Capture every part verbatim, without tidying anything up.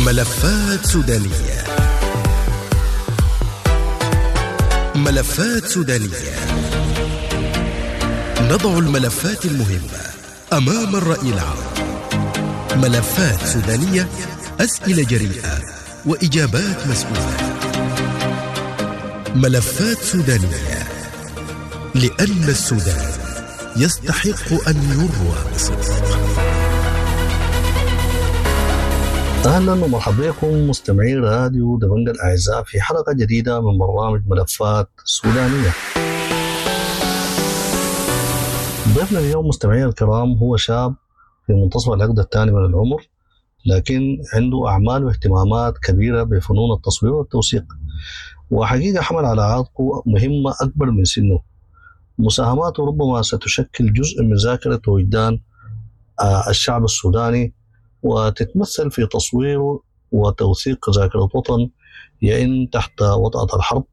ملفات سودانية. ملفات سودانية. نضع الملفات المهمة أمام الرأي العام. ملفات سودانية، أسئلة جريئة وإجابات مسؤولة. ملفات سودانية، لأن السودان يستحق أن يروى بصدق. أهلا ومرحبا بكم مستمعي راديو دبنجة الأعزاء في حلقة جديدة من برنامج ملفات سودانية. ضيفنا اليوم مستمعي الكرام هو شاب في منتصف العقد الثاني من العمر، لكن عنده أعمال واهتمامات كبيرة بفنون التصوير والتوثيق، وحقيقة حمل على عاتقه مهمة أكبر من سنه. مساهماته ربما ستشكل جزء من ذاكرة وجدان، آه، الشعب السوداني، وتتمثل في تصويره وتوثيق ذاكرة وطن يئن تحت وطأة الحرب.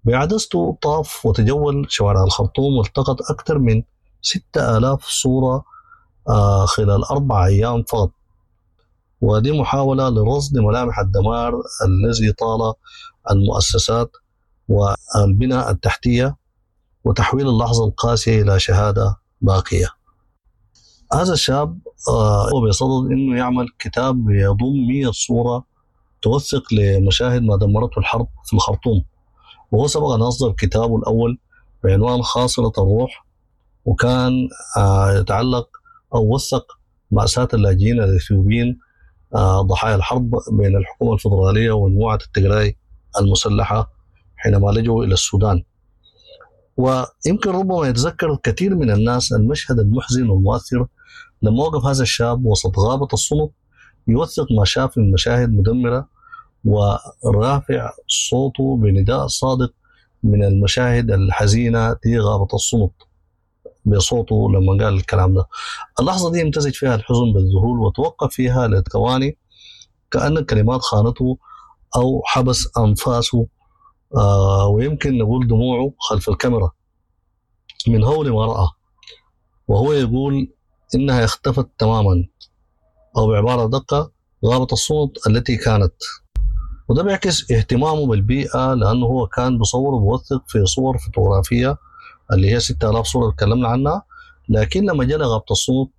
بعدسته طاف وتجول شوارع الخرطوم والتقط أكثر من ستة آلاف صورة، آه، خلال أربع أيام فقط، ودي محاولة لرصد ملامح الدمار الذي طال المؤسسات والبنى التحتية وتحويل اللحظة القاسية إلى شهادة باقية. هذا الشاب، آه، هو بصدد إنه يعمل كتاب يضم مية صورة توثق لمشاهد ما دمرته الحرب في الخرطوم، وهو سبق أن أصدر كتابه الأول بعنوان خاصرة الروح، وكان، آه، يتعلق أو وثق مأساة اللاجئين الإثيوبيين، آه، ضحايا الحرب بين الحكومة الفدرالية ومجموعة التجراي المسلحة حينما لجوا إلى السودان. ويمكن ربما يتذكر كثير من الناس المشهد المحزن والمؤثر لما وقف هذا الشاب وسط غابة السنط يوثق ما شاف من مشاهد مدمرة ورافع صوته بنداء صادق من المشاهد الحزينة في غابة السنط بصوته لما قال الكلام ده. اللحظة دي امتزج فيها الحزن بالذهول وتوقف فيها لثواني كأن الكلمات خانته أو حبس أنفاسه، آه، ويمكن نقول دموعه خلف الكاميرا من هول ما رأى، وهو يقول إنها اختفت تماما، أو بعبارة دقة غابة السنط التي كانت. وده بيعكس اهتمامه بالبيئة، لأنه هو كان بصور وبوثق في صور فوتوغرافية اللي هي ستة آلاف صورة تكلمنا عنها، لكن لما جاء غابة السنط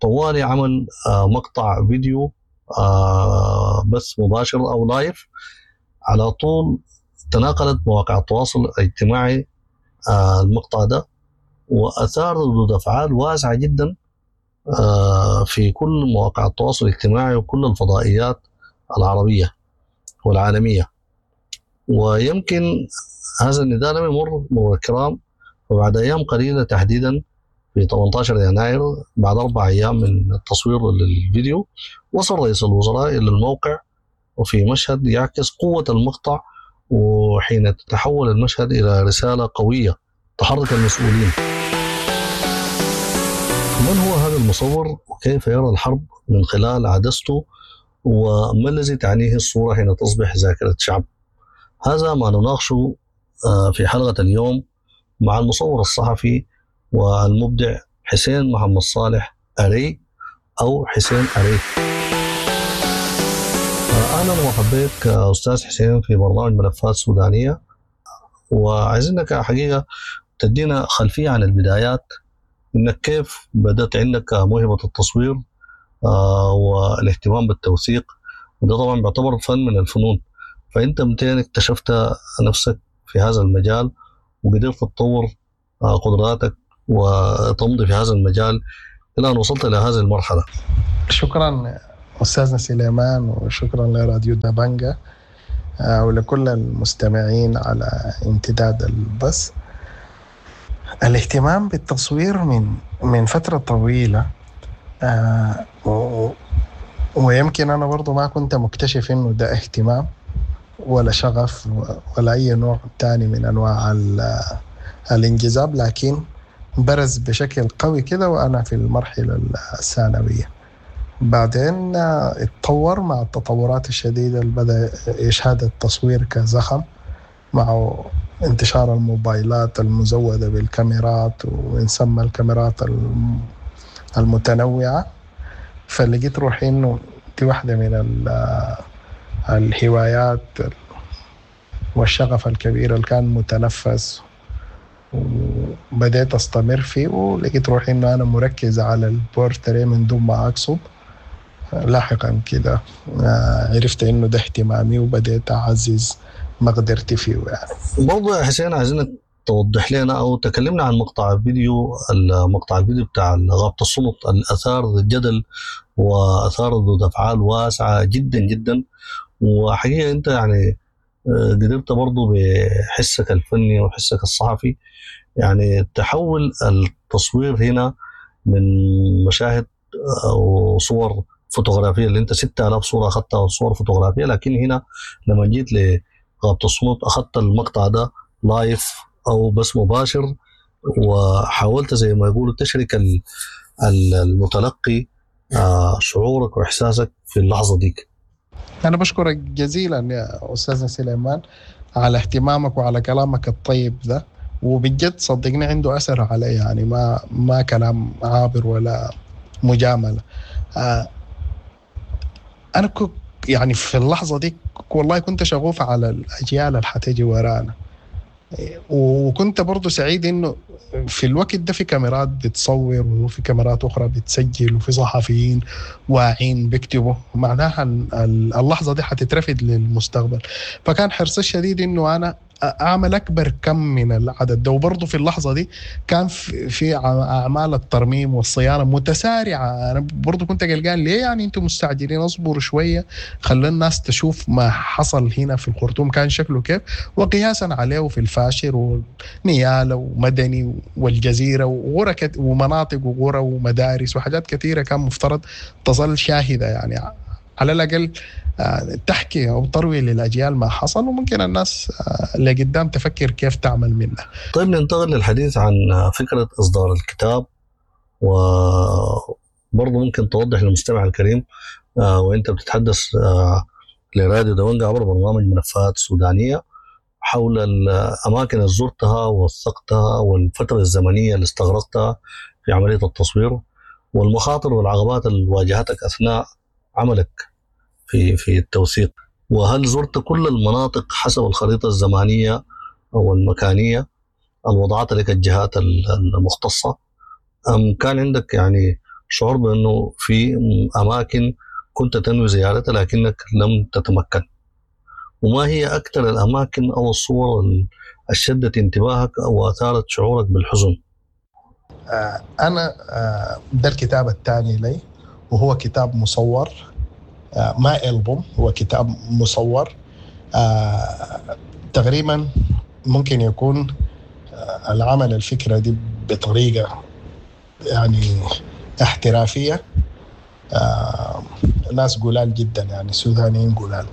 طوالي عمل، آه، مقطع فيديو، آه، بث مباشر أو لايف على طول تناقلت مواقع التواصل الاجتماعي، آه، المقطع ده، وأثار ردود أفعال واسعة جدا، آه، في كل مواقع التواصل الاجتماعي وكل الفضائيات العربية والعالمية. ويمكن هذا النداء لم يمر مرور الكرام، وبعد أيام قليلة تحديدا في ثمانتاشر يناير بعد أربع أيام من التصوير للفيديو وصل رئيس الوزراء إلى الموقع، وفي مشهد يعكس قوة المقطع وحين تتحول المشهد إلى رسالة قوية تحرك المسؤولين. من هو هذا المصور وكيف يرى الحرب من خلال عدسته، وما الذي تعنيه الصورة حين تصبح ذاكرة شعب؟ هذا ما نناقشه، آه، في حلقة اليوم مع المصور الصحفي والمبدع حسين محمد صالح أري أو حسين أري. أهلا ومرحبا بك أستاذ حسين في برنامج ملفات سودانية، وعايزينك حقيقة تدينا خلفية عن البدايات، إنك كيف بدأت عندك موهبة التصوير، آه، والاهتمام بالتوثيق، وده طبعا بيعتبر فن من الفنون، فأنت متين اكتشفت نفسك في هذا المجال وقدرت تطور، آه، قدراتك وتمضي في هذا المجال إلى أن وصلت إلى هذه المرحلة؟ شكرا أستاذنا سليمان، وشكرا لراديو دبنجة، آه، ولكل المستمعين على امتداد البث. الاهتمام بالتصوير من، من فترة طويلة، آه، و-، ويمكن أنا برضو ما كنت مكتشف إنه ده اهتمام ولا شغف ولا أي نوع تاني من أنواع ال-، الانجذاب، لكن برز بشكل قوي كده وأنا في المرحلة الثانوية. بعدين، آه، اتطور مع التطورات الشديدة اللي بدأ يشهد التصوير كزخم مع انتشار الموبايلات المزودة بالكاميرات ونسمى الكاميرات الم-، المتنوعة. فلقيت روحي إنه دي واحدة من الهوايات والشغف الكبير اللي كان متنفس وبدأت أستمر فيه، ولقيت روحي إنه أنا مركز على البورتري من دون ما أقصد. لاحقا كده عرفت إنه ده اهتمامي وبدأت أعزز مقدرتي فيه. يعني برضو يا حسين عايزينك توضح لنا أو تكلمنا عن مقطع فيديو، مقطع الفيديو بتاع غابة السنط الأثار الجدل وأثار ردود أفعال واسعة جدا جدا، وحقيقة أنت يعني قدرت برضو بحسك الفني وحسك الصحفي يعني تحول التصوير هنا من مشاهد وصور فوتوغرافية اللي انت ستة آلاف صورة أخذتها صور فوتوغرافية، لكن هنا لما جيت لغابة السنط أخذت المقطع ده live أو بس مباشر، وحاولت زي ما يقولوا تشرك المتلقي شعورك وإحساسك في اللحظة ديك. أنا بشكرك جزيلا يا أستاذ سليمان على اهتمامك وعلى كلامك الطيب ده، وبجد صدقني عنده أثر علي، يعني ما ما كلام عابر ولا مجاملة. آه أنا كنت يعني في اللحظة دي والله كنت شغوف على الأجيال اللي حتيجي ورانا، وكنت برضو سعيد إنه في الوقت ده في كاميرات بتصور وفي كاميرات أخرى بتسجل وفي صحفيين واعين بيكتبوا، معناها اللحظة دي حتترفد للمستقبل. فكان حرصي الشديد إنه أنا أعمل أكبر كم من العدد ده. وبرضه في اللحظة دي كان في أعمال الترميم والصيانة متسارعة، أنا برضه كنت قلقان ليه يعني أنتم مستعجلين، أصبروا شوية خلي الناس تشوف ما حصل هنا في الخرطوم كان شكله كيف، وقياسا عليه في الفاشر ونيالة ومدني والجزيرة وغرى ومناطق وغرى ومدارس وحاجات كثيرة كان مفترض تظل شاهدة، يعني على الأقل تحكي أو تروي للأجيال ما حصل، وممكن الناس اللي قدام تفكر كيف تعمل منه. طيب ننتقل للحديث عن فكرة إصدار الكتاب، وبرضه ممكن توضح للمستمع الكريم وإنت بتتحدث لراديو دونجا عبر برنامج ملفات سودانية حول الأماكن اللي زرتها ووثقتها والفترة الزمنية اللي استغرقتها في عملية التصوير والمخاطر والعقبات اللي واجهتك أثناء عملك في في التوثيق، وهل زرت كل المناطق حسب الخريطة الزمانية أو المكانية الوضعت لك الجهات المختصة، أم كان عندك يعني شعور بأنه في أماكن كنت تنوي زيارتها لكنك لم تتمكن؟ وما هي أكثر الأماكن أو الصور اللي شدت انتباهك أو أثارت شعورك بالحزن؟ آه أنا آه ده الكتاب الثاني لي، وهو كتاب مصور، ما ألبوم، هو كتاب مصور. آه، تقريبا ممكن يكون آه، العمل الفكرة دي بطريقة يعني احترافية. آه، ناس قلال جدا يعني سودانيين قلال.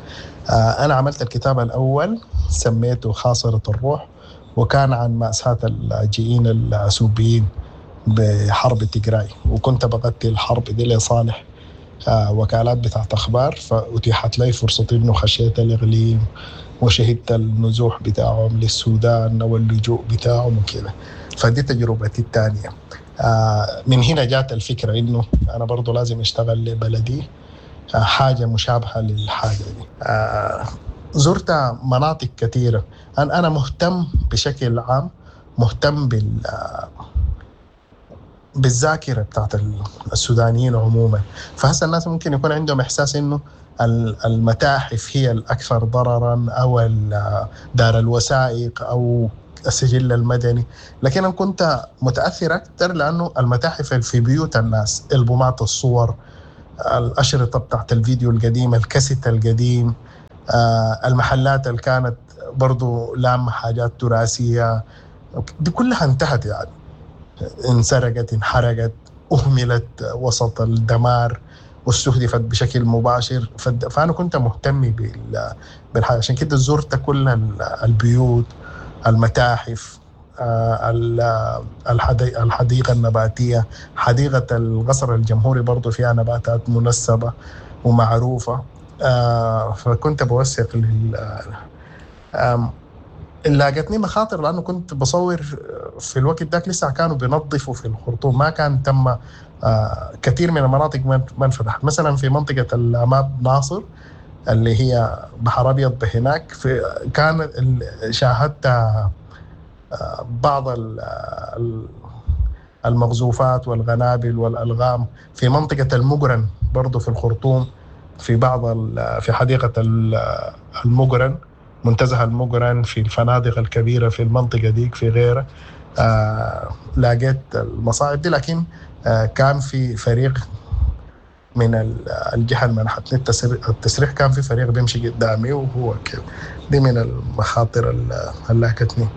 آه، أنا عملت الكتاب الأول سميته خاصرة الروح، وكان عن مأساة اللاجئين الأثيوبيين بحرب تيغراي، وكنت بغطي الحرب دي لصالح وكالات بتاعت أخبار، فأتيحت لي فرصة إنه خشيت الإقليم وشهدت النزوح بتاعهم للسودان واللجوء بتاعهم وكده. فدي تجربتي الثانية. من هنا جات الفكرة إنه أنا برضو لازم أشتغل لبلدي حاجة مشابهة للحاجة دي. زرت مناطق كثيرة. أنا مهتم بشكل عام، مهتم بال بالذاكرة بتاعت السودانيين عموما. فهسه الناس ممكن يكون عندهم إحساس إنه المتاحف هي الأكثر ضررا، أو دار الوثائق أو السجل المدني، لكن أنا كنت متأثر أكثر لأنه المتاحف في بيوت الناس، ألبومات الصور، الأشرطة بتاعت الفيديو القديم، الكاسيت القديم، المحلات اللي كانت برضو لامة حاجات تراثية، دي كلها انتهت يعني، انسرقت، انحرقت، أهملت وسط الدمار واستهدفت بشكل مباشر. فأنا كنت مهتم بالحاجة، عشان كده زرت كل البيوت، المتاحف، الحديقة النباتية، حديقة القصر الجمهوري برضو فيها نباتات منسبة ومعروفة. فكنت بوثق لل لاقتني مخاطر لأنه كنت بصور في الوقت ذاك لسه كانوا بينظفوا في الخرطوم، ما كان تم كثير من المناطق ما انفتحت. مثلا في منطقة الأماب ناصر اللي هي بحر أبيض بهناك، في كان شاهدت بعض المغزوفات والغنابل والألغام في منطقة المقرن برضو في الخرطوم، في بعض في حديقة المقرن، منتزه المقرن، في الفنادق الكبيرة في المنطقة ديك، في غيرها. آه لاقيت المصاعب دي، لكن آه كان في فريق من الجهة اللي منحتني التسريح، كان في فريق بيمشي قدامي وهو كده. دي من المخاطر اللي لاقتني.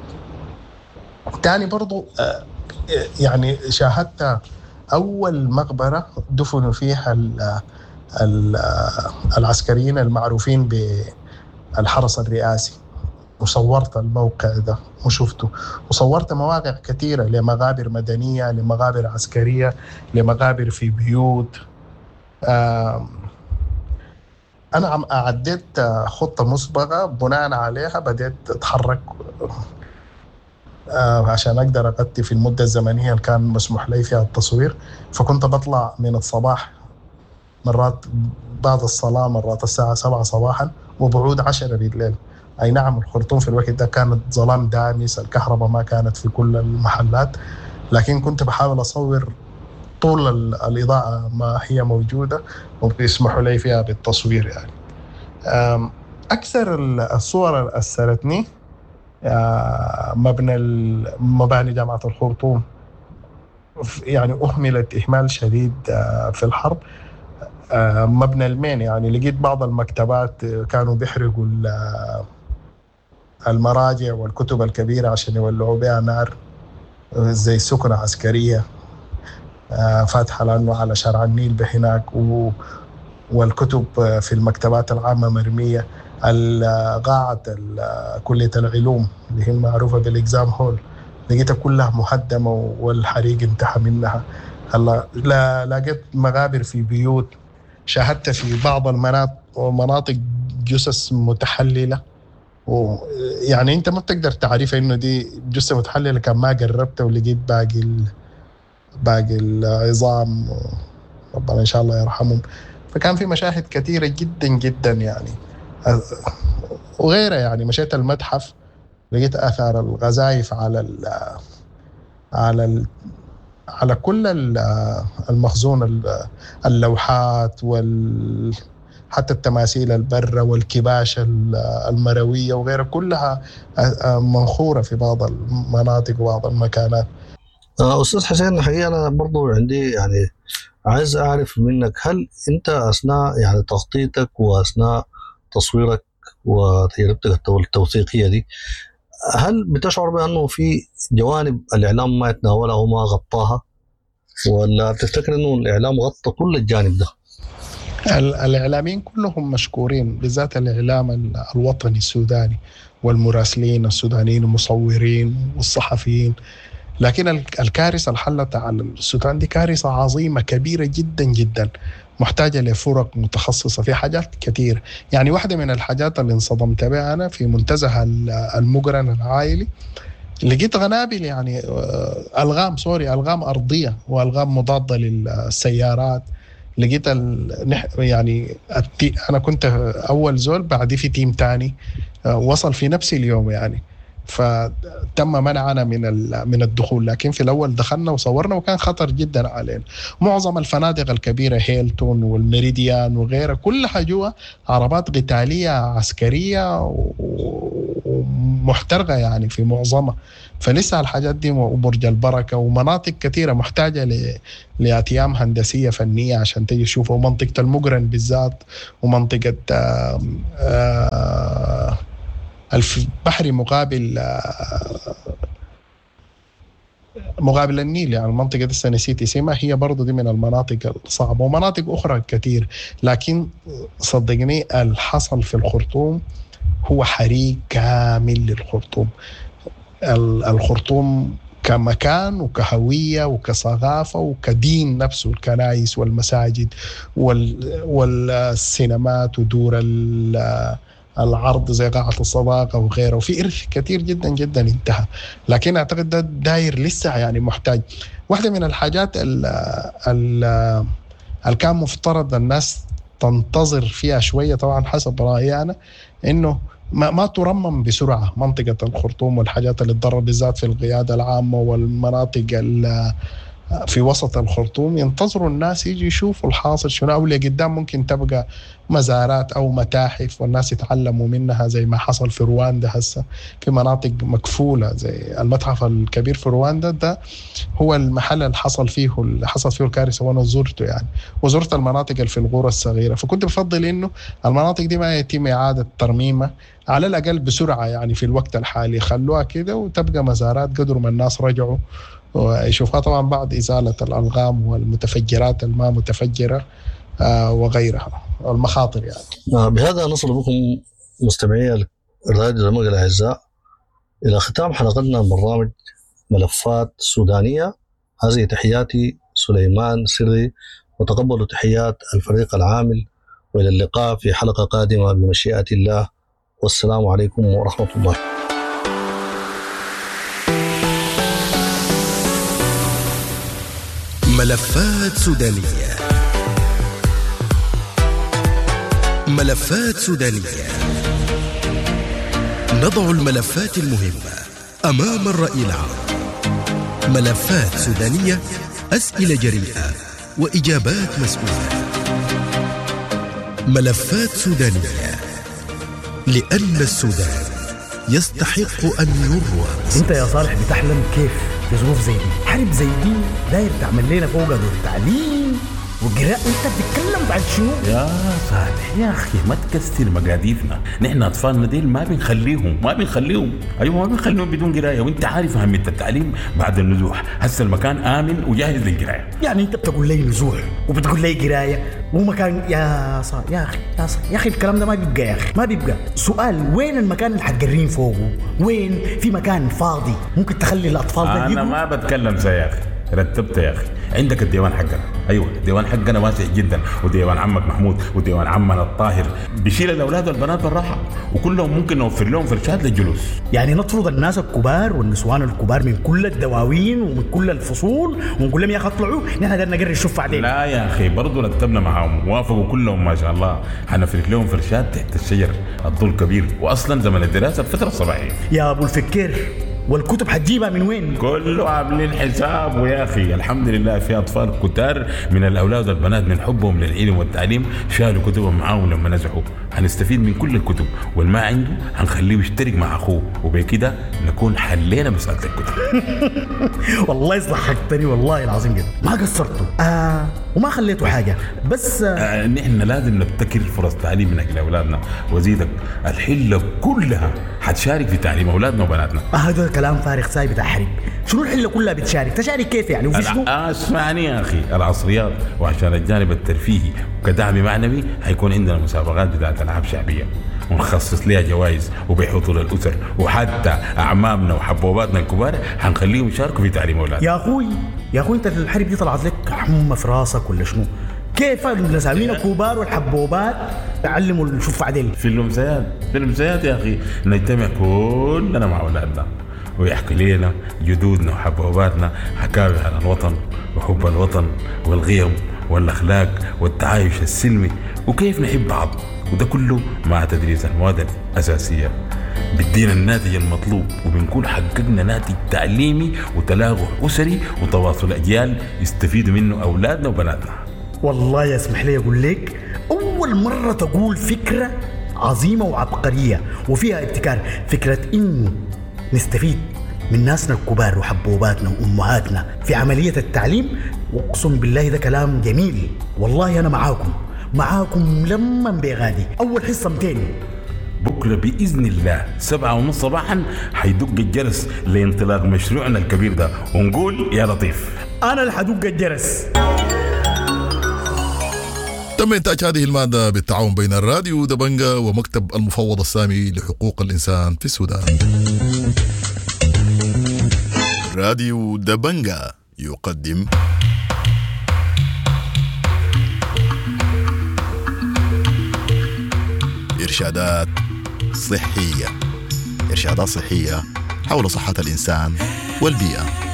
تاني برضو آه يعني شاهدت أول مقبرة دفنوا فيها ال ال العسكريين المعروفين بالحرس الرئاسي، وصورت الموقع ده وشفته، وصورت مواقع كثيرة لمقابر مدنية، لمقابر عسكرية، لمقابر في بيوت. أنا عم أعديت خطة مسبقة بناء عليها بدأت أتحرك عشان أقدر أغطي في المدة الزمنية اللي كان مسموح لي فيها التصوير. فكنت بطلع من الصباح مرات بعد الصلاة، مرات الساعة سبعة صباحا، وبعود عشرة بالليل. أي نعم الخرطوم في الوقت ده كانت ظلام دامس، الكهرباء ما كانت في كل المحلات، لكن كنت بحاول أصور طول الإضاءة ما هي موجودة وبيسمحوا لي فيها بالتصوير. يعني أكثر الصور اللي أثرتني مبنى مباني جامعة الخرطوم، يعني أهملت إهمال شديد في الحرب. مبنى المين، يعني لقيت بعض المكتبات كانوا بيحرقوا المراجع والكتب الكبيرة عشان يولعوا بها نار، زي سكنة عسكرية فاتحة لأنه على شارع النيل بهناك، والكتب في المكتبات العامة مرمية. قاعة كلية العلوم اللي هي المعروفة بالإكزام هول لقيتها كلها مهدمة والحريق انتهى منها. هلا لا لقيت مغابر في بيوت، شاهدت في بعض المناطق جثث متحللة، ويعني انت ما بتقدر تعرف انه دي جثة متحللة كان ما قربت ولقيت باقي ال... باقي العظام، ربنا ان شاء الله يرحمهم. فكان في مشاهد كثيرة جدا جدا يعني وغيرها. يعني مشيت المتحف لقيت اثار الغزايف على ال على ال على كل المخزون، اللوحات وال حتى التماثيل البرة والكباش المروية وغيرها كلها منخورة في بعض المناطق وبعض المكانات. أستاذ حسين، الحقيقة أنا برضو عندي يعني عايز أعرف منك، هل أنت أثناء يعني تخطيطك وأثناء تصويرك وتجربتك التوثيقية دي، هل بتشعر بأنه في جوانب الإعلام ما يتناولها وما غطاها، ولا تفتكر أنه الإعلام غطى كل الجانب ده؟ الإعلاميين كلهم مشكورين، بالذات الإعلام الوطني السوداني والمراسلين السودانيين والمصورين والصحفيين. لكن الكارثة اللي حلت على السودان دي كارثة عظيمة كبيرة جدا جدا، محتاجة لفرق متخصصة في حاجات كثير. يعني واحدة من الحاجات اللي انصدمت بها أنا في منتزه المقرن العائلي، لقيت غنابل، يعني ألغام، سوري ألغام أرضية وألغام مضادة للسيارات. لقيت ال... يعني التي... أنا كنت أول زول، بعدي في team تاني وصل في نفس اليوم يعني، فتم منعنا من من الدخول. لكن في الأول دخلنا وصورنا وكان خطر جدا علينا. معظم الفنادق الكبيرة هيلتون والميريديان وغيرها كلها جوا عربات قتالية عسكرية ومحترقة يعني في معظمها. فلسه الحاجات دي، وبرج البركة ومناطق كثيرة محتاجة ل... لأتيام هندسية فنية عشان تجي تشوفها، ومنطقة المقرن بالذات، ومنطقة آآ آآ البحري مقابل مقابل النيل، يعني المنطقة دي نسيت اسمها، هي برضو دي من المناطق الصعبة، ومناطق أخرى كثير. لكن صدقني الحصل في الخرطوم هو حريق كامل للخرطوم. الخرطوم كمكان وكهوية وكثقافة وكدين نفسه، الكنائس والمساجد والسينمات ودور العرض زي قاعة الصداقة وغيره، وفي إرث كثير جدا جدا انتهى. لكن أعتقد ده داير لسه يعني محتاج. واحدة من الحاجات اللي كان مفترض الناس تنتظر فيها شوية طبعا حسب رأيي أنا، إنه ما, ما ترمم بسرعة منطقة الخرطوم والحاجات اللي تضرر بالذات في القيادة العامة والمناطق في وسط الخرطوم. ينتظروا الناس يجي يشوفوا الحاصل شنو، أو لقدام ممكن تبقى مزارات أو متاحف والناس يتعلموا منها زي ما حصل في رواندا هسه في مناطق مكفولة زي المتحف الكبير في رواندا. ده هو المحل اللي حصل فيه اللي حصل فيه الكارثة، وأنا زرته يعني، وزرت المناطق اللي في الغورة الصغيرة. فكنت بفضل إنه المناطق دي ما يتم إعادة ترميمها على الأقل بسرعة يعني في الوقت الحالي، خلوها كده وتبقى مزارات قدر ما الناس رجعوا ويشوفها، طبعا بعد إزالة الألغام والمتفجرات الما متفجرة وغيرها المخاطر يعني. بهذا نصل بكم مستمعي الراديو دبنقا الأعزاء إلى ختام حلقتنا من برنامج ملفات سودانية. هذه تحياتي سليمان سري، وتقبلوا تحيات الفريق العامل، وإلى اللقاء في حلقة قادمة بمشيئة الله، والسلام عليكم ورحمة الله. ملفات سودانية، ملفات سودانية، نضع الملفات المهمة أمام الرأي العام. ملفات سودانية، أسئلة جريئة وإجابات مسؤولة. ملفات سودانية، لأن السودان يستحق أن يروى. أنت يا صالح بتحلم كيف في ظروف زي دي؟ حرب زي دي داير تعمل لنا فوق دور تعليم وقراءة، انت بتتكلم بعد شنو؟ يا صالح يا اخي ما تكسر مقاديفنا، نحن اطفالنا ديل ما بنخليهم ما بنخليهم ايوه ما بنخليهم بدون قرايه، وانت عارف اهمية التعليم بعد النزوح. هسه المكان امن وجاهز للقرايه. يعني انت بتقول لي نزوح وبتقول لي قرايه ومكان؟ يا صالح يا اخي يا صالح يا اخي الكلام ده ما بيبقى يا اخي، ما بيبقى. سؤال، وين المكان اللي حتقرين فوقه؟ وين في مكان فاضي ممكن تخلي الاطفال ده؟ انا ما بتكلم زي يا اخي، رتبت يا اخي. عندك الديوان حقنا، ايوه الديوان حقنا واسع جدا، وديوان عمك محمود وديوان عمنا الطاهر بيشيل الاولاد والبنات بالراحة، وكلهم ممكن نوفر لهم فرشات للجلوس. يعني نطرد الناس الكبار والنسوان الكبار من كل الدواوين ومن كل الفصول ونقول لهم يا اخي اطلعوا، نحن قدرنا نقري الشوف بعدين. لا يا اخي برضه رتبنا معاهم، وافقوا كلهم ما شاء الله. حنفرش لهم فرشات تحت الشجر، الظل كبير، واصلا زمن الدراسة الفترة الصباحية. يا ابو الفكير، والكتب حتجيبها من وين؟ كله عاملين حساب ويا اخي الحمد لله. في اطفال كتار من الاولاد والبنات من حبهم للعلم والتعليم شالوا كتبهم معاهم لما نزحوا. هنستفيد من كل الكتب، والما عنده هنخليه يشترك مع اخوه، وبكده نكون حلينا مسالة الكتب. والله ضحكتني والله العظيم جدا، ما قصرتوا آه وما خليتوا حاجة. بس آه آه نحن لازم نبتكر فرص تعليم من اجل اولادنا، وزيدك الحلة كلها حتشارك في تعليم اولادنا وبناتنا. هذا آه كلام فارغ ساي بتاع حرب. شنو الحلة كلها بتشارك؟ تشارك كيف يعني؟ وفي شنو؟ اسمعني يا اخي، العصريات وعشان الجانب الترفيهي وكدعم معنوي حيكون عندنا مسابقات بتاعت العاب شعبية ونخصص لها جوائز وبحضور الاسر، وحتى اعمامنا وحبوباتنا الكبار حنخليهم يشاركوا في تعليم اولادنا. يا اخوي يا اخوي انت الحرب دي طلعت لك حمى في راسك ولا شنو؟ كيف النساوين الكبار والحبوبات تعلموا الشوف عدل في الامسيات؟ في الامسيات يا اخي نجتمع كلنا مع اولادنا ويحكي لنا جدودنا وحبوباتنا حكاوي عن الوطن وحب الوطن والغيم والاخلاق والتعايش السلمي وكيف نحب بعض، وده كله مع تدريس المواد الأساسية بدينا الناتج المطلوب، وبنكون حققنا ناتج تعليمي وتلاقح أسري وتواصل أجيال يستفيدوا منه أولادنا وبناتنا. والله يسمح لي أقول لك، أول مرة تقول فكرة عظيمة وعبقرية وفيها ابتكار، فكرة إنه نستفيد من ناسنا الكبار وحبوباتنا وأمهاتنا في عملية التعليم. وأقسم بالله ده كلام جميل والله. أنا معاكم معاكم لما بغادي. أول حصة مئتين بكرة بإذن الله سبعة ونص صباحا حيدق الجرس لانطلاق مشروعنا الكبير ده، ونقول يا لطيف. أنا اللي حدق الجرس. تم إنتاج هذه المادة بالتعاون بين الراديو دبنجا ومكتب المفوض السامي لحقوق الإنسان في السودان. راديو دبنجا يقدم إرشادات صحية. إرشادات صحية حول صحة الإنسان والبيئة.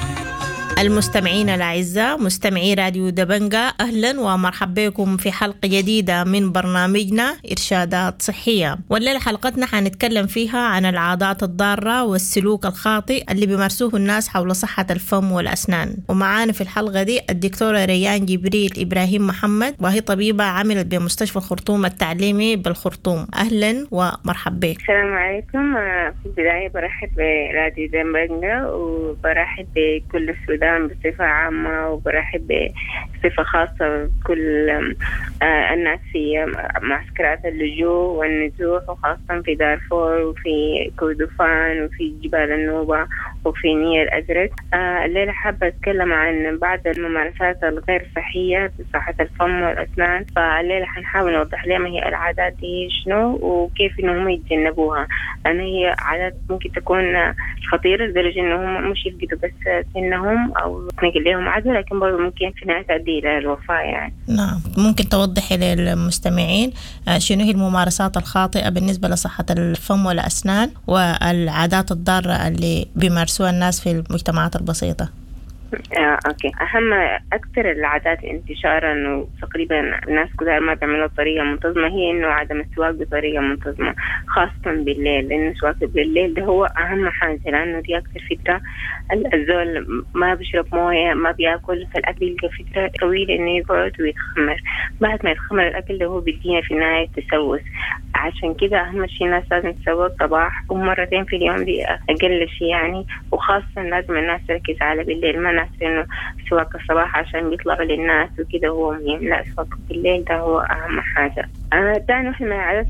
المستمعين الأعزاء، مستمعي راديو دبنجا، أهلا ومرحبا بكم في حلقة جديدة من برنامجنا إرشادات صحية. والليلة حلقتنا حنتكلم فيها عن العادات الضارة والسلوك الخاطئ اللي بيمارسوه الناس حول صحة الفم والأسنان. ومعانا في الحلقة دي الدكتورة ريان جبريل إبراهيم محمد، وهي طبيبة عملت بمستشفى الخرطوم التعليمي بالخرطوم. أهلا ومرحبا بك. السلام عليكم. في البداية برحب براديو دبنجا وبرحب بكل السودان بصفة عامة، وبرحب بصفة خاصة بكل الناس في معسكرات اللجوء والنزوح، وخاصة في دارفور وفي كردفان وفي جبال النوبة وفي نيل الأزرق. الليلة حابة أتكلم عن بعض الممارسات الغير صحية في صحة الفم والأسنان. فالليلة حنحاول نوضح لهم هي العادات دي شنو وكيف إنهم يتجنبوها، لأن هي عادات ممكن تكون خطيرة لدرجة إنهم مش يفقدوا بس سنهم أو تنقل لهم عدوى، لكن برضه ممكن في نهاية تؤدي إلى الوفاة يعني. نعم، ممكن توضحي للمستمعين شنو هي الممارسات الخاطئة بالنسبة لصحة الفم والأسنان والعادات الضارة اللي بيمارسوها الناس في المجتمعات البسيطة؟ آه، okay. أهم أكثر العادات انتشارا وتقريبا الناس كلها ما بيعملوها بطريقة منتظمة هي إنه عدم السواك بطريقة منتظمة، خاصة بالليل، لأنه السواك بالليل ده هو أهم حاجة، لأنه دي أكثر فترة الزول ما بيشرب موية، ما بياكل، فالأكل يلقى فترة طويلة إنه يقعد ويتخمر. بعد ما يتخمر الأكل ده هو بيدينا في النهاية تسوس. عشان كده أهم شيء الناس لازم تسوق صباح ومرتين في اليوم، دي أقل شيء يعني. وخاصة لازم الناس تركز على بالليل، ما ناس إنه سواك الصباح عشان بيطلعوا للناس وكده هو مهم، لا، سواك بالليل ده هو أهم حاجة. تاني واحدة من العادات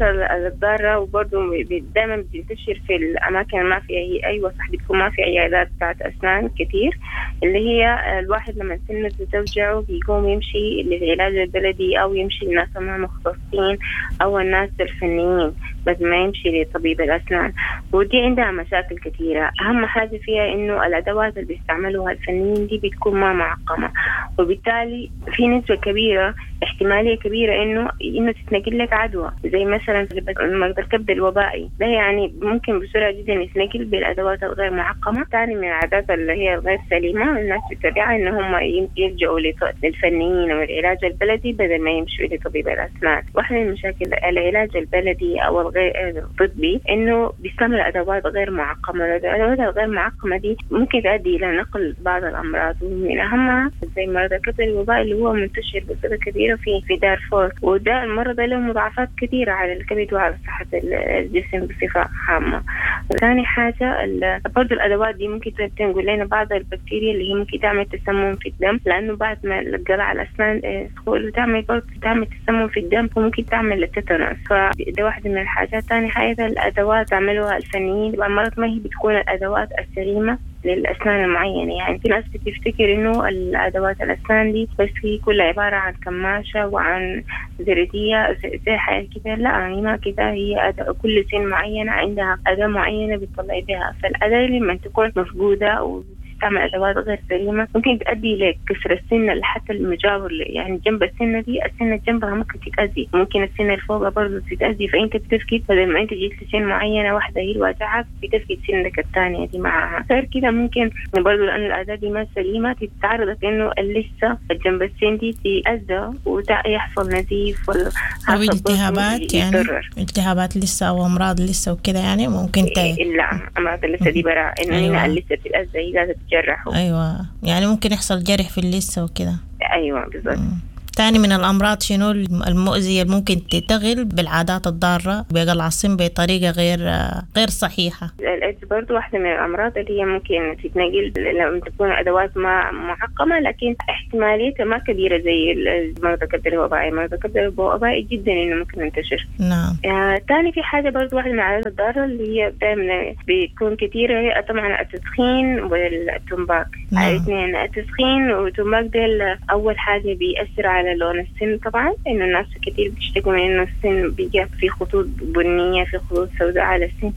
الضارة وبرضه دائما بتنتشر في الأماكن ما فيها هي أيوة صح، بتكون ما في عيادات بتاعت أسنان كتير، اللي هي الواحد لما سنه توجعه بيقوم يمشي للعلاج البلدي أو يمشي للناس ما مختصين أو الناس الفنيين، بس ما يمشي لطبيب الأسنان. ودي عندها مشاكل كثيرة. أهم حاجة فيها إنه الأدوات اللي بيستعملوها الفنيين دي بتكون ما معقمة، وبالتالي في نسبة كبيرة، احتمالية كبيرة إنه إنه تتنقل لك عدوى، زي مثلا مرض الكبد الوبائي ده، يعني ممكن بسرعة جدا يتنقل بالأدوات الغير معقمة. ثاني من العادات اللي هي الغير سليمة الناس بتتبعها إن هم يلجأوا للفنيين والعلاج البلدي بدل ما يمشوا لطبيب الأسنان. واحدة من مشاكل العلاج البلدي أو الغير الطبي إنه بيستعمل أدوات غير معقمة. الأدوات الغير معقمة دي ممكن تؤدي إلى نقل بعض الأمراض، ومن أهمها زي مرض الكبد الوبائي اللي هو منتشر بصورة كبيرة في في دارفور، وده المرض له مضاعفات كثيرة على الكبد وعلى صحة الجسم بصفة عامة. ثاني حاجة برضو الأدوات دي ممكن تنقل لنا بعض البكتيريا اللي هي ممكن تعمل تسمم في الدم، لأنه بعد ما قلع الأسنان تدخل وتعمل برضو تعمل تسمم في الدم وممكن تعمل التيتانوس، فده واحدة من الحاجات. ثاني حاجة الأدوات تعملوها الفنيين مرات ما هي بتكون الأدوات السليمة للأسنان المعينة. يعني في ناس بتفتكر إنه الأدوات الأسنان دي بس هي كلها عبارة عن كماشة وعن زردية زي حاجة كده، لا يعني ما كده، هي أداة كل سن معينة عندها أداة معينة بتطلع بها. فالأداة لما تكون مفقودة و تعمل أدوات غير سليمة ممكن تؤدي لكسر السنة حتى المجاور، يعني جنب السنة دي السنة جنبها ممكن تتأذي، ممكن السنة اللي فوقها برضه تتأذي. فأنت بتفقد بدل ما أنت جيت لسن معينة واحدة هي اللي واجعك بتفقد سنك الثانية دي معها. غير كده ممكن برضه لأن الأداة دي ما سليمة تتعرضك إنه اللثة جنب السن دي تتأذى ويحصل نزيف ولا أو التهابات، يعني التهابات لسه أو أمراض لسه وكده، يعني ممكن ت... لا أمراض اللثة دي برا إنه هنا اللثة بتتأذى هي لازم تجرحه. أيوة، يعني ممكن يحصل جرح في اللثة وكده. أيوة بالضبط. تاني من الأمراض شنو المؤذية اللي ممكن تتغل بالعادات الضارة بقلع السن بطريقة غير غير صحيحة؟ الإيدز برضو واحدة من الأمراض اللي هي ممكن تتنقل لما تكون أدوات ما معقمة، لكن احتماليتها ما كبيرة زي مرض الكبد الوبائي. مرض الكبد الوبائي جدا إنه ممكن ينتشر. نعم. آه، تاني في حاجة برضو واحدة من العادات الضارة اللي هي دائما بتكون كثيرة هي طبعا التدخين والتمباك. نعم. الاثنين التدخين والتمباك ده أول حاجة بيأثر على لون السن طبعا، إنه الناس كتير بيشتكوا من إنه السن بيجي في خطوط بنية، في خطوط سوداء على السن.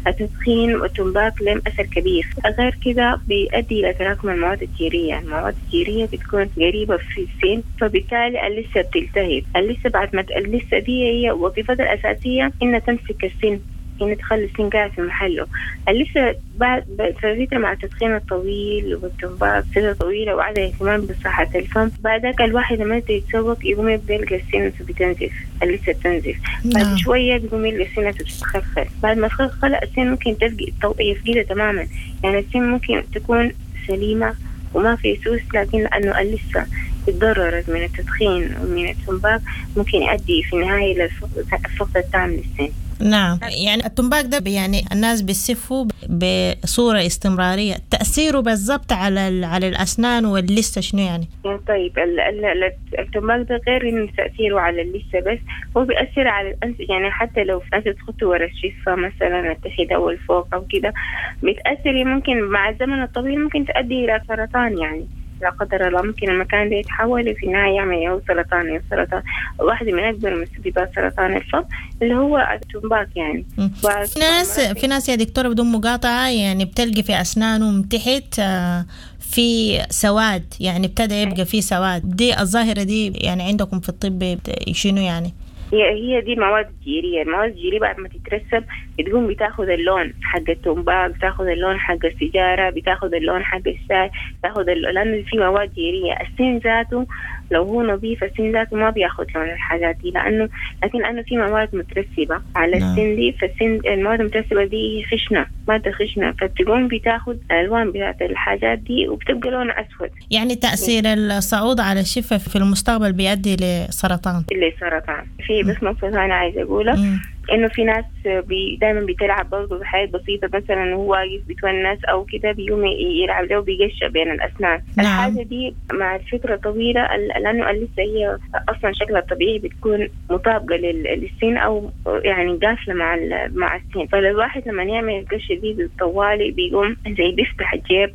التدخين والتمباك لهم أثر كبير. غير كده بيؤدي إلى تراكم المواد الجيرية. المواد الجيرية بتكون قريبة في السن، فبالتالي اللثة بتلتهب. اللثة بعد ما اللثة دي هي وظيفتها الأساسية إنها تمسك السن إنه تخلي السن قاعد في محله. اللثة بعد فترة مع التدخين الطويل والتمباك فترة طويلة وعدم اهتمام بصحة الفم، بعدك الواحد لما يتسوق يقوم يبدأ يلقى السن بتنزف، اللثة بتنزف. بعد شوية بيقوم يلقى السن بتتخلخل، بعد ما تخلخل السن ممكن تفقد يفقدها تماما. يعني السن ممكن تكون سليمة وما في سوس، لكن لأنه اللثة تضررت من التدخين ومن التمباك ممكن يؤدي في النهاية للفقد التام للسن. نعم، يعني التمباك ده يعني الناس بيسفوا بصورة استمرارية، تأثيره بالضبط على على الأسنان واللثة شنو يعني؟ طيب التمباك ده غير إنه تأثيره على اللثة بس، هو بيأثر على الأنف. يعني حتى لو أنت تخطي ورا الشفة مثلا التحت أو الفوق أو كده بتأثر، ممكن مع الزمن الطويل ممكن تؤدي إلى سرطان. يعني لا قدر الله ممكن المكان ده يتحول في النهاية يعمل أو سرطان أو سرطان. واحدة من أكبر مسببات سرطان الفم اللي هو التمباك. يعني في ناس في ناس يا دكتورة بدون مقاطعة يعني بتلقي في أسنانهم تحت في سواد، يعني ابتدى يبقى في سواد. دي الظاهرة دي يعني عندكم في الطب شنو يعني؟ هي هي دي مواد جيرية. المواد الجيرية بعد ما تترسب بتقوم بتاخذ اللون حق التمباك، بتاخذ اللون حق السيجارة، بتاخذ اللون حق الشاي، بتاخذ لأنه في مواد جيرية. السن ذاته لو هو نظيف السن ذاته ما بياخذ لون الحاجات دي، لأنه لكن لأنه في مواد مترسبة على السن دي، فالسن المواد المترسبة دي خشنة، مادة خشنة، فبتقوم بتاخذ الألوان بتاعت الحاجات دي وبتبقى لونها أسود. يعني تأثير الصعود على الشفة في المستقبل بيؤدي لسرطان. لسرطان. في بس نقطة أنا عايزة أقولها، إنه في ناس بي دايما بتلعب برضه بحاجات بسيطة، مثلا هو واقف بيتونس أو كده بيقوم يلعب له بيقشع بين الأسنان. نعم. الحاجة دي مع الفترة طويلة، لأنه اللثة هي أصلا شكلها الطبيعي بتكون مطابقة للسن أو يعني قافلة مع مع السن، فالواحد لما يعمل القشة دي بالطوالي بيقوم زي بيفتح الجيب،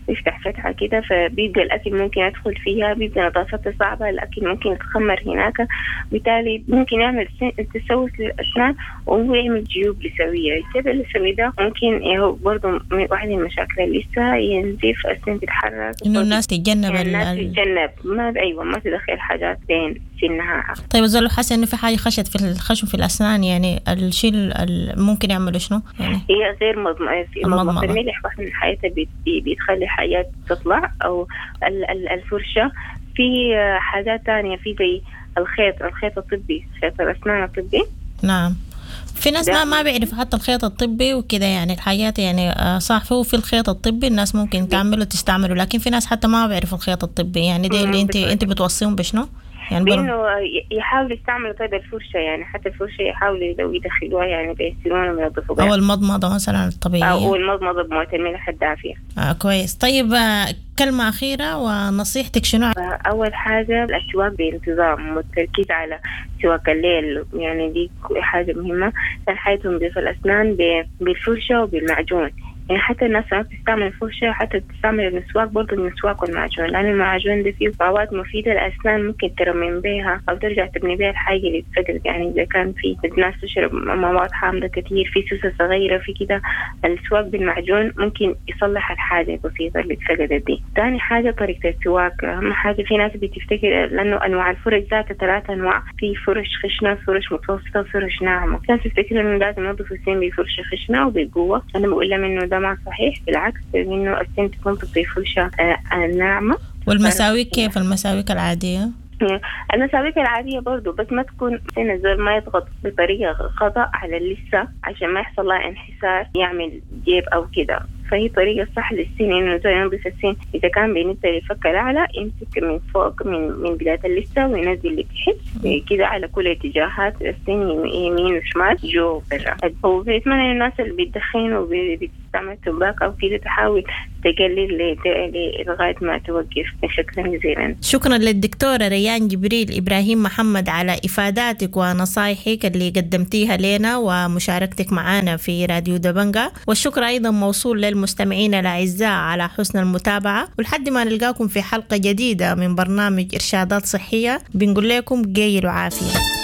بيفتح فتحة كده، فبيبقى الأكل ممكن يدخل فيها، بيبقى نظافتها صعبة، الأكل ممكن يتخمر هناك، بالتالي ممكن يعمل تسوس للأسنان وهو يعمل جيوب لثوية. الجيب اللثوي ده ممكن هو برضه من واحد من المشاكل اللثة ينزف، السن تتحرك، إنه الناس تتجنب يعني الناس تتجنب ما أيوة ما تدخل حاجات بين سنها. طيب الزول حاسس إنه في حاجة خشت في الخشم في الأسنان، يعني الشيء ممكن يعمله شنو؟ يعني هي غير مضمضة الملح واحد من الحاجات بتخلي حاجات تطلع، أو الفرشة. في حاجات تانية، في زي الخيط، الخيط الطبي، خيط الأسنان الطبي. نعم، في ناس ما ما بيعرفوا حتى الخيط الطبي وكده، يعني الحاجات يعني صح هو في الخيط الطبي الناس ممكن تعمله تستعمله، لكن في ناس حتى ما بيعرفوا الخيط الطبي. يعني دي اللي انت انت بتوصيهم بشنو؟ يعني بانه يحاولوا يستعملوا طيب الفرشة، يعني حتى الفرشة يحاولوا لو يدخلوها يعني بيسيرون وينظفوا بها، او المضمضة مثلا الطبيعية، او المضمضة بمويه الملح الدافيه. آه كويس. طيب كلمة اخيرة ونصيحتك شنو؟ اول حاجة السواك بانتظام والتركيز على سواك الليل، يعني دي حاجة مهمة. ثاني حاجة تنظيف الاسنان بالفرشه وبالمعجون، يعني حتى الناس ما بتستعمل الفرشة، حتى بتستعمل المسواك برضه، المسواك والمعجون، لأن المعجون ده فيه مواد مفيدة للأسنان ممكن ترمم بيها أو ترجع تبني بيها الحاجة اللي اتفقدت. يعني إذا كان في ناس تشرب مواد حامضة كتير، في سوسة صغيرة، في كده، السواك بالمعجون ممكن يصلح الحاجة البسيطة اللي اتفقدت دي. تاني حاجة طريقة السواك، أهم حاجة في ناس بتفتكر لأنه أنواع الفرش ذاتها ثلاثة أنواع، في فرش خشنة، فرش متوسطة، فرش ناعمة. ناس تفتكر إنه لازم ينظفوا السن بفرشة خشنة وبقوة، أنا بقول لهم إنه ده ما صحيح، بالعكس إنه السن تنظف بفرشة ناعمة. والمساويك كيف المساويك العادية؟ المساويك العادية برضو، بس ما تكون سن الزول ما يضغط بطريقة خطأ على اللثة عشان ما يحصل لها انحسار يعمل جيب أو كده. فهي طريقة صح للسن إنه الزول ينظف السن إذا كان بالنسبة للفك الأعلى يمسك من فوق من من بداية اللثة وينزل لتحت كده على كل اتجاهات السن، يمين وشمال جو برا. وبتمنى الناس اللي بتدخن وبتستعمل تمباك أو كده تحاول تقلل لغاية ما توقف. شكرا جزيلا. شكرا للدكتورة ريان جبريل إبراهيم محمد على إفاداتك ونصايحك اللي قدمتيها لنا ومشاركتك معنا في راديو دبنجا، والشكر أيضا موصول للمستمعين الأعزاء على حسن المتابعة، ولحد ما نلقاكم في حلقة جديدة من برنامج إرشادات صحية بنقول لكم جيل وعافية.